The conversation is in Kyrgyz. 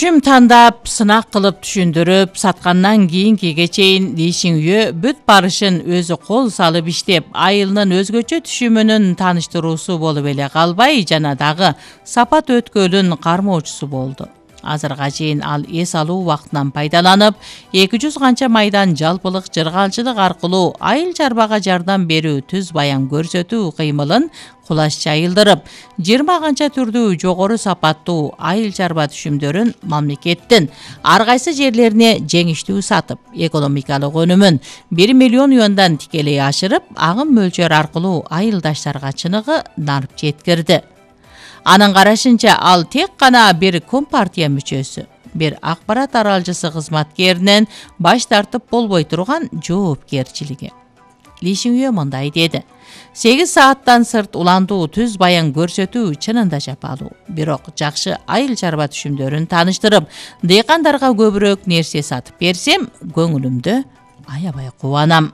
түшүм тандап, сынак кылып түшүндүрүп, саткандан кийинкиге чейин Ли Шиңюэ бүт барышын өзү кол салып иштеп, айылынын өзгөчө түшүмүнүн тааныштыруусу болуп эле калбай, жана дагы сапат өткөлүн кармоочусу болду. Азырга чейин ал эс алуу убактынан пайдаланып, 200 канча майдан жалпылык жыргалчылык аркылуу айыл чарбага жардам берүү түз баян көрсөтүү кыймылын кулаш жайылдырып, 20 канча түрдүү жогору сапаттуу айыл чарба түшүмдөрүн мамлекеттин ар кайсы жерлерине жеңиштүү сатып, экономикалык өнүмүн 1 миллион юандан тикелей ашырып, агым мөлчөр аркылуу айылдаштарга чыныгы нарып жеткирди. Анын карашынча, ал тек гана бир компартия мүчөсү, бир акпарат аралчысы кызматкеринен баш тартып болбой турган жоопкерчилиги. Ли Шиңюэ мындай деди: 8 сааттан сырт уландуу түз баян көрсөтүү чынында жапалуу. Бирок жакшы айыл чарба түшүмдөрүн тааныштырып, дыйкандарга көбүрөөк нерсе сатып берсем, көңүлүмдө аябай кубанам.